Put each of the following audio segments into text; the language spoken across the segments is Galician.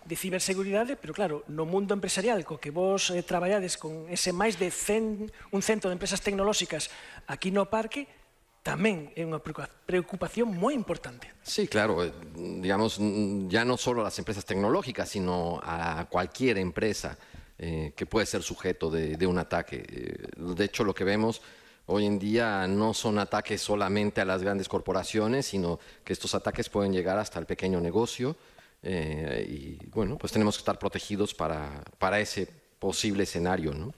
de ciberseguridade, pero claro, no mundo empresarial co que vos traballades con ese máis de 100, un cento de empresas tecnolóxicas aquí no parque, tamén é unha preocupación moi importante. Sí, claro, digamos, ya no solo a las empresas tecnológicas, sino a cualquier empresa que puede ser sujeto de un ataque. De hecho, lo que vemos hoy en día no son ataques solamente a las grandes corporaciones, sino que estos ataques pueden llegar hasta el pequeño negocio y, bueno, pues tenemos que estar protegidos para ese posible escenario, ¿no?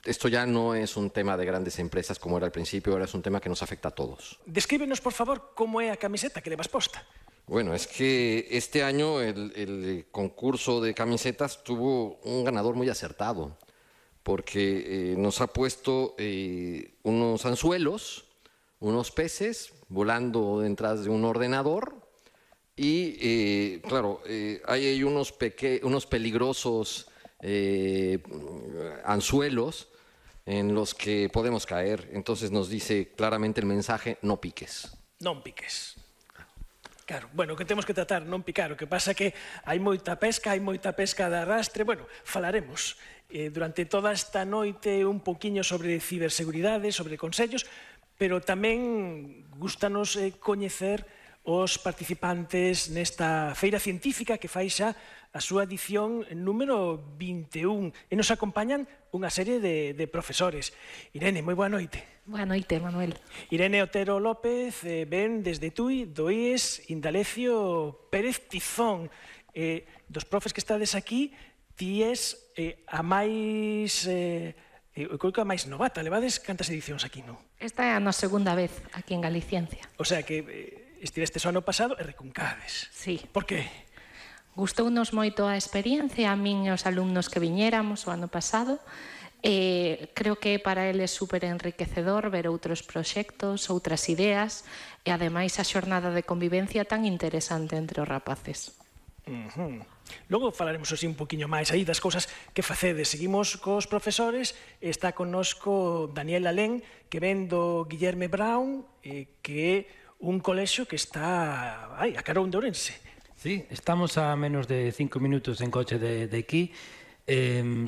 Esto ya no es un tema de grandes empresas como era al principio, ahora es un tema que nos afecta a todos. Descríbenos, por favor, como é a camiseta que levas posta. Bueno, es que este año el concurso de camisetas tuvo un ganador muy acertado, porque nos ha puesto unos anzuelos, unos peces volando detrás de un ordenador y, claro, hay unos peligrosos anzuelos en los que podemos caer. Entonces nos dice claramente el mensaje: no piques. Non piques. Claro, bueno, que temos que tratar, non picar. O que pasa que hai moita pesca de arrastre. Bueno, falaremos durante toda esta noite un poquinho sobre ciberseguridade, sobre consellos, pero tamén gustanos coñecer os participantes nesta feira científica que fai xa a súa edición número 21 e nos acompañan unha serie de profesores. Irene, moi boa noite. Boa noite, Manuel. Irene Otero López ven desde Tui, do IES Indalecio Pérez Tizón. Dos profes que estades aquí, ti és a máis... eu creo que a máis novata. Levades cantas edicións aquí, non? Esta é a nosa segunda vez aquí en Galiciencia. O sea que estivestes o ano pasado e recuncades. Sí. Por que? Gustounos moito a experiencia, a min e os alumnos que viñéramos o ano pasado. Creo que para eles super enriquecedor ver outros proxectos, outras ideas e ademais a xornada de convivencia tan interesante entre os rapaces. Logo falaremos así un poquinho máis aí das cousas que facedes. Seguimos cos profesores. Está connosco Daniel Alén, que ven do Guillerme Brown, que é un colexio que está a Carón de Ourense. Sí, estamos a menos de 5 minutos en coche de aquí.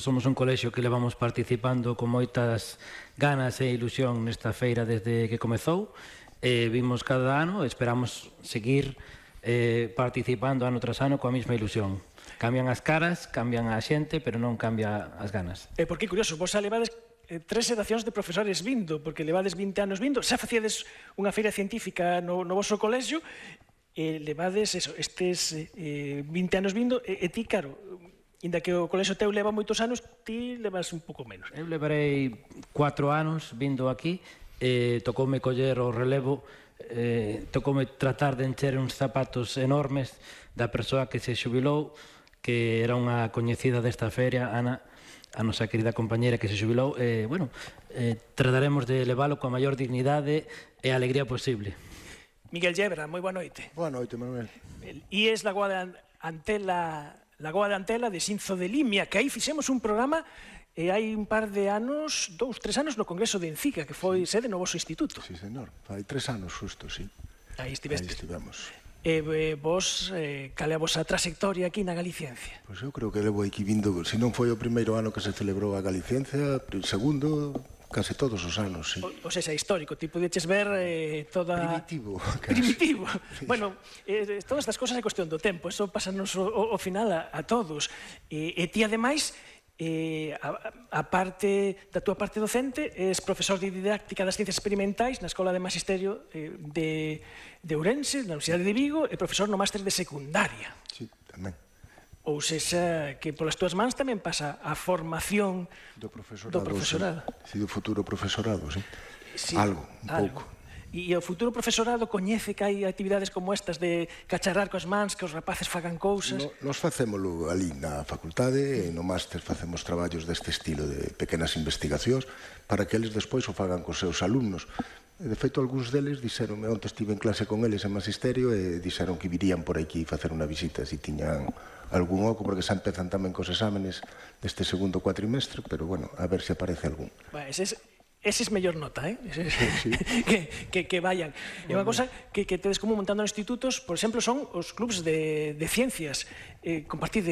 Somos un colexio que levamos participando con moitas ganas e ilusión nesta feira desde que comezou. Vimos cada ano, esperamos seguir participando ano tras ano coa mesma ilusión. Cambian as caras, cambian a xente, pero non cambia as ganas. Porque curioso, vos levades 3 xeracións de profesores vindo, porque levades 20 anos vindo, xa facíades unha feira científica no vosso colexio, levades estes 20 anos vindo, e ti, claro, inda que o colexio teu leva moitos anos, ti levas un pouco menos. Eu levarei 4 anos vindo aquí, tocoume coller o relevo, tocoume tratar de encher uns zapatos enormes da persoa que se xubilou, que era unha coñecida desta feria, Ana, a nosa querida compañera que se xubilou. Trataremos de levalo coa maior dignidade e alegría posible. Miguel Yebra, moi boa noite. Boa noite, Manuel. IES Lagoa de Antela de Xinzo de Limia, que aí fixemos un programa hai un par de anos, 2-3 anos, no Congreso de Encica, que foi sede no vosso instituto. Sí, señor. Fai 3 anos xusto, sí. Aí estiveste. Aí estivemos. Vos, cal é a vosa trayectoria aquí na Galiciencia? Pois eu creo que levo aquí vindo, se non foi o primeiro ano que se celebrou a Galiciencia, segundo, case todos os anos, sí. O sea, histórico, ti podeches ver toda... Primitivo. Primitivo. Bueno, todas estas cosas é cuestión do tempo, eso pasanos ao final a todos. E ti, ademais, a parte da túa parte docente, és profesor de didáctica das ciencias experimentais na Escola de Magisterio de Ourense, na Universidade de Vigo, e profesor no máster de secundaria. Sí, tamén. Ou sexa, que polas túas mans tamén pasa a formación do profesorado. Sí, do futuro profesorado, sí. Algo, un pouco. E o futuro profesorado coñece que hai actividades como estas de cacharrar coas mans, que os rapaces fagan cousas? Nos facémolo ali na facultade, e no máster facemos traballos deste estilo de pequenas investigacións para que eles despois o fagan cos seus alumnos. De feito, algúns deles dixeronme, onte estive en clase con eles en magisterio, e dixeron que virían por aquí facer unha visita se tiñan algún oco, porque xa empezan tamén cos exámenes deste segundo cuatrimestre, pero bueno, a ver se aparece algún. Ese es mellor nota, Sí. que vayan. E unha cosa que tedes como montando en institutos, por exemplo, son os clubs de ciencias. Compartide